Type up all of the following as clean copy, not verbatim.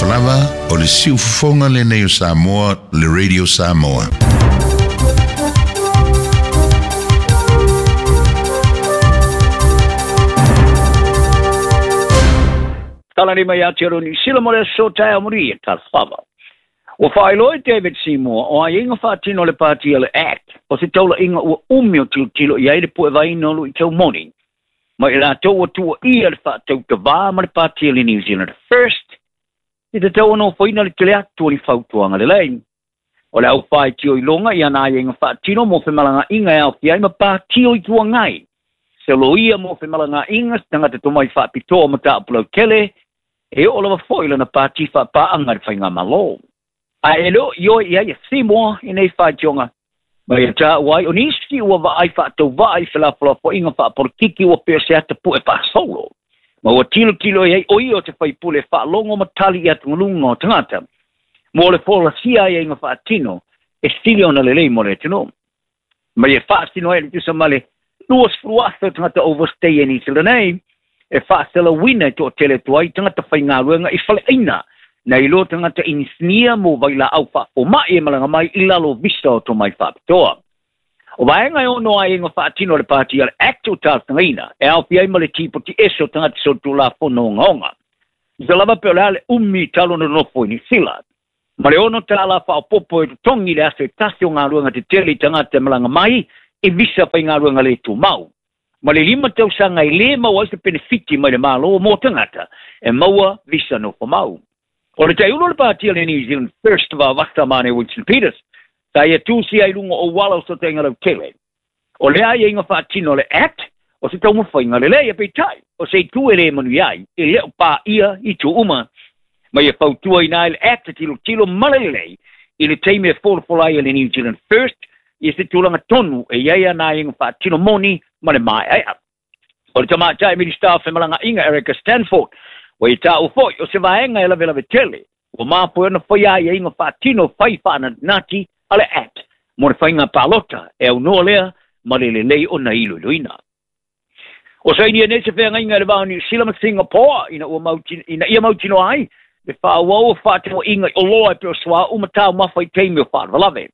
Talofa lava, o le siufofoga lenei o Samoa, le Radio Samoa. Tala nei mai Aotearoa Niu Sila mo le aso taeao manuia, talofa. Ua faailoa e David Seymour o aiaiga faatino a le Pati a le act o se taulaiga ua umi o tilotilo i ai le puevaina o luitau moni ma i latou ua tuuaia le faatautavā ma le Pati a le New Zealand First i te tatau ona ofoina le tele atu o ni fautuaga lelei. O le au faitioiloga i ana aiaiga faatino mo femalagaaiga e aofia ai ma Pati o Itu Agai, se loia mo femalagaaiga, se tagata tomai faapitoa o mataupu lautele, e oo lava foi lana pati faapaaga i le faigamalo. Ae e le o ioe i ai a Seymour i nei faitioga, ma ia taua ai o nisi ua vaai faatauvaa i felafolafoaiga faapolokiki ua pei o se ata pue faasolo, ma ua tilotilo i ai o ia o se faipule e faalogo ma tali i atugaluga o tagata mo le folasia aiaiga faatino e sili ona lelei mo le atunuu. Ma ia faasino ai le tusa ma le 20,000 o tagata overstay e Niu Sila nei, e faaselauina e toatele atu ai tagata faigaluega i faleaina nai lo tagata inisinia mo vailaau faafomai e malaga mai i lalo o visa o tomai faapitoa. O vaega e ono aiaiga faatino a le Pati a le Act o talosagaina e aofia ai ma le tipoti ese o tagata solitulafono ogaoga. Tusa lava pe o le a le umi talu ona nonofo i Niu Sila. Ma le $6 faaopoopo e totogi i le aso e tasi o galuega tetele i tagata e malaga mai i visa faigaluega le tumau. Ma le 5 tausaga e lē maua ai se penefiti mai le Malo mo tagata e maua visa nofomau. O le taiulu o le Pati a le New Zealand First Vavasa Mane Winston Peters, sa ia tusia i luga o auala o Sotainga Lautele. O le aiaiga faatino a le Act o se taumafaiga lelei, peitai, o se itu e lē manuia ai, e le o paia itu uma. Ma ia fautuaina ai le Act e tilotilo ma le lelei i le taimi e folafola ai e le New Zealand First i se tulaga tonu e i ai ana aiaiga faatino moni ma le maeaea. O le tamaitai Minisita o Femalagaaiga Erica Stanford, ua ia taua foi o se vaega e lavelave tele ua mafua ona faia aiaiga faatino fai faanatinati a le Act mo le faiga palota e aunoa lea ma le lelei ona iloiloina. O sainia nei se feagaiga i le va o Niu Sila ma Singapore ina ua ina ia mautinoa ai le faaauau o fefaatauaiga i oloa e pei o suauu ma taumafa i taimi o faalavelave.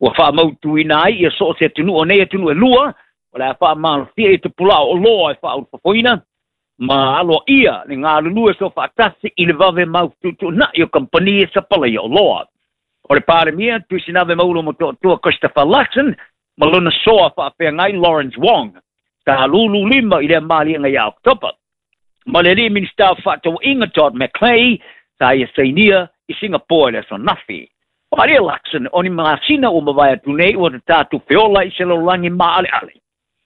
Ua faamautuina ai ia so o se atunuu o nei atunuu e lua o le a faamalofia i tupula'a o oloa e faaulufafoina ma aloaia le galulue soofaatasi i le vave mautuutuunai o kamupani e sapalaia oloa. O le Palemia Tuisinave Maulo Motootua Christopher Luxon ma lona soa faafeagai Lawrence Wong sa lulu lima i lea maliega ia Oketopa. Ma le alii Minisita o Fefaatauaiga Todd McClay sa ia sainia i Singapore i le aso ananafi. Faaalia Luxon o ni masina ua mavae atu nei ua tatā tupe ola i se lalolagi maaleale.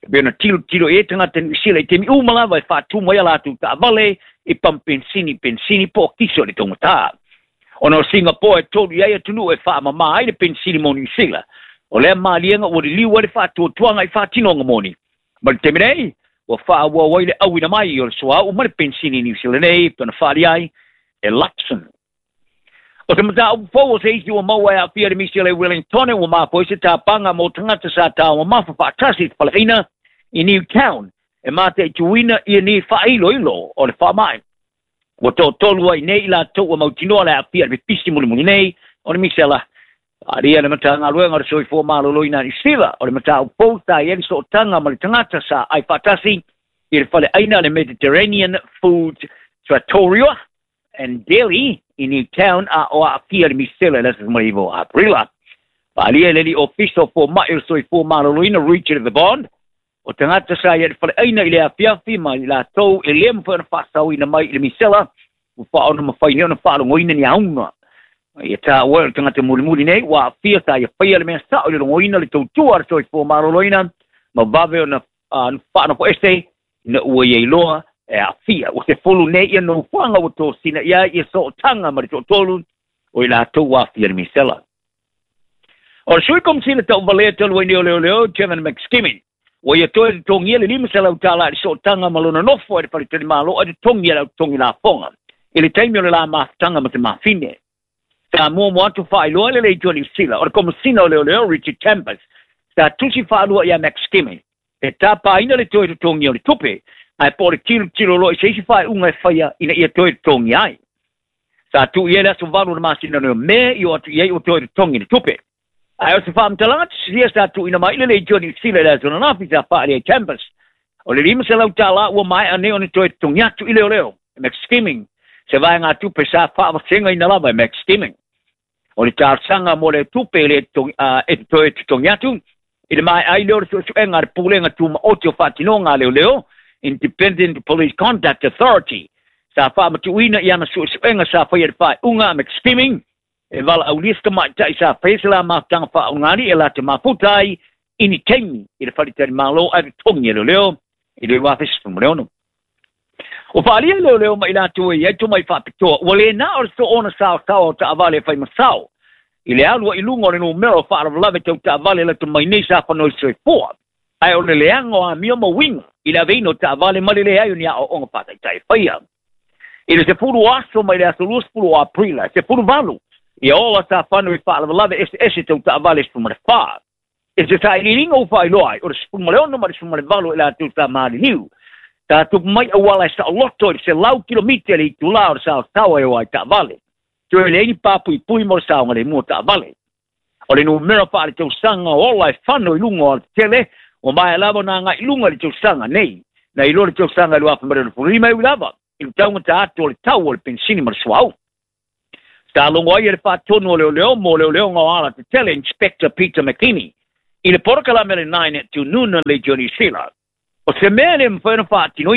E pei ona tilotilo i ai tagata Niu Sila i taimi uma lava e faatumu ai a latou taavale i pamu penisini, penisini po o kiso i le taugata. Ona o Singapore e tolu i ai atunuu e faamama ai le penisini mo Niu Sila, o lea maliega ua liliu ai le faatuatuaga i faatinoga moni. Ma le taimi nei, ua faaauau ai le auina mai o le suauu ma le penisini i Niu Sila nei, pei ona faaali ai e Luxon. O se mataupu fou o se isi ua maua e aafia le misi a le Wellingtone ua mafua ai se tapaga mo tagata sa taumamafa faatasi i te faleaina i Newtown e mataituina ia ni faailoilo o le faamai. Ua toatolu ai nei i latou ua mautinoa le aafia i le pipisi mulimuli nei o le misela. Faaalia le Matagaluega o le Soifua Maloloina a Niu Sila o le mataupu fou sa i ai le sootaga ma le tagata sa ai faatasi i le faleaina a le Mediterranean Food Trattoria and Deli i Newtown a o aafia le misela i le aso 19 o Aperila. Faaalia e le alii ofisa o fomai o le Soifua Maloloina Richard Verbond, o tagata sa i ai i le faleaina i le afiafi ma i latou e le mafai ona faasaoina mai i le misela, ua faaona mafai nei ona faalogoina ni auga. Ia taua o le tagata mulimuli nei ua aafia sa ia faia le mea sao i le logoina le tautua a le Soifua Maloloina ma vave ona faanofoese ina ua ia iloa e aafia. Ua sefulu nei ia nofoaga ua tosina i ai ia sootaga ma le toatolu o i latou ua aafia i le misela. O le sui komisina tauvalea talu ai nei o leoleo Kevin McSkimming, ua ia toe totogia le $500 i le sootaga ma lona nofo ai le faletalimalo ai totogi a le au totogi lafoga i le taimi o le la mafutaga ma te mafine. Sa muamua atu faailoa le Leitu a Niu Sila o le Komesina o Leoleo Richard Chambers sa tusi faalua ia McSkimming e tapaina le toe totogia o le tupe, ae po o le tilotilo loa i se isi faaiuga e faia ina ia toe totogia ai. Sa tuu i ai le aso 8 o le masina o Me i o atu i ai ua toe totogi le tupe. Ae o se faamatalaga tusisia sa tuuina mai i le Leitio Niu Sila i le aso ananafi sa faaali ai Chambers. O le $500 ua maea nei ona toe totogi atu i leoleo e McSkimming, se vaegatupe sa faavasegaina lava e McSkimming. O le talosaga mo le tupe e toe totogi atu i le maea ai lea o le suesuega a le Pulega Tumaoti o Faatinoga a Leoleo, Independent Police Conduct Authority, sa faamatuuina i ana suesuega sa faia i le faaiuga a McSkimming e valaaulia se tamaitai sa faia se la mafutaga faaogali e latou mafuta ai i ni taimi i le faletalimalo ae totogi e leoleo i le 2016. Ua faaalia leoleo ma i latou e i ai tomai faapitoa ua le na o le soona saosaoa o taavale e fai masao i le alu ai i luga o le numera o faalavelave tau taavale lata mai nei sa fanoi soifua, ae o le leaga o amio ma uiga i le aveina o taavale ma le leai o ni aoaoga faataitai e faia. I le 10 aso mai le aso 20 o Aperila, e 18 ia ola sa fano i faalavelave eseese tau taavale 14. I se sailiiliga ua faailoa ai, o le 16 ma le 18 i latou sa maliliu. Sa tupu mai auala e saoloto i le 100 kilomita i le itulā o le saosaoa e o ai taavale. Toe leai ni papuipui mo le saogalemu o taavale. O le numera faaletausaga o ola e fano i luga o alatetele, ua maea lava ona agai i luga i le tausaga nei, nai lo le tausaga i 2025 e ui lava i le taugata atu o le tau o le penisini ma le suauu. Sa logo ai e le faatonu o leoleo mo leoleoga o alatetele, Inspector Peter McKinney, i le polokalame a le 9 at Noon a Leitio Niu Sila. O se mea e le mafai ona faatinoina.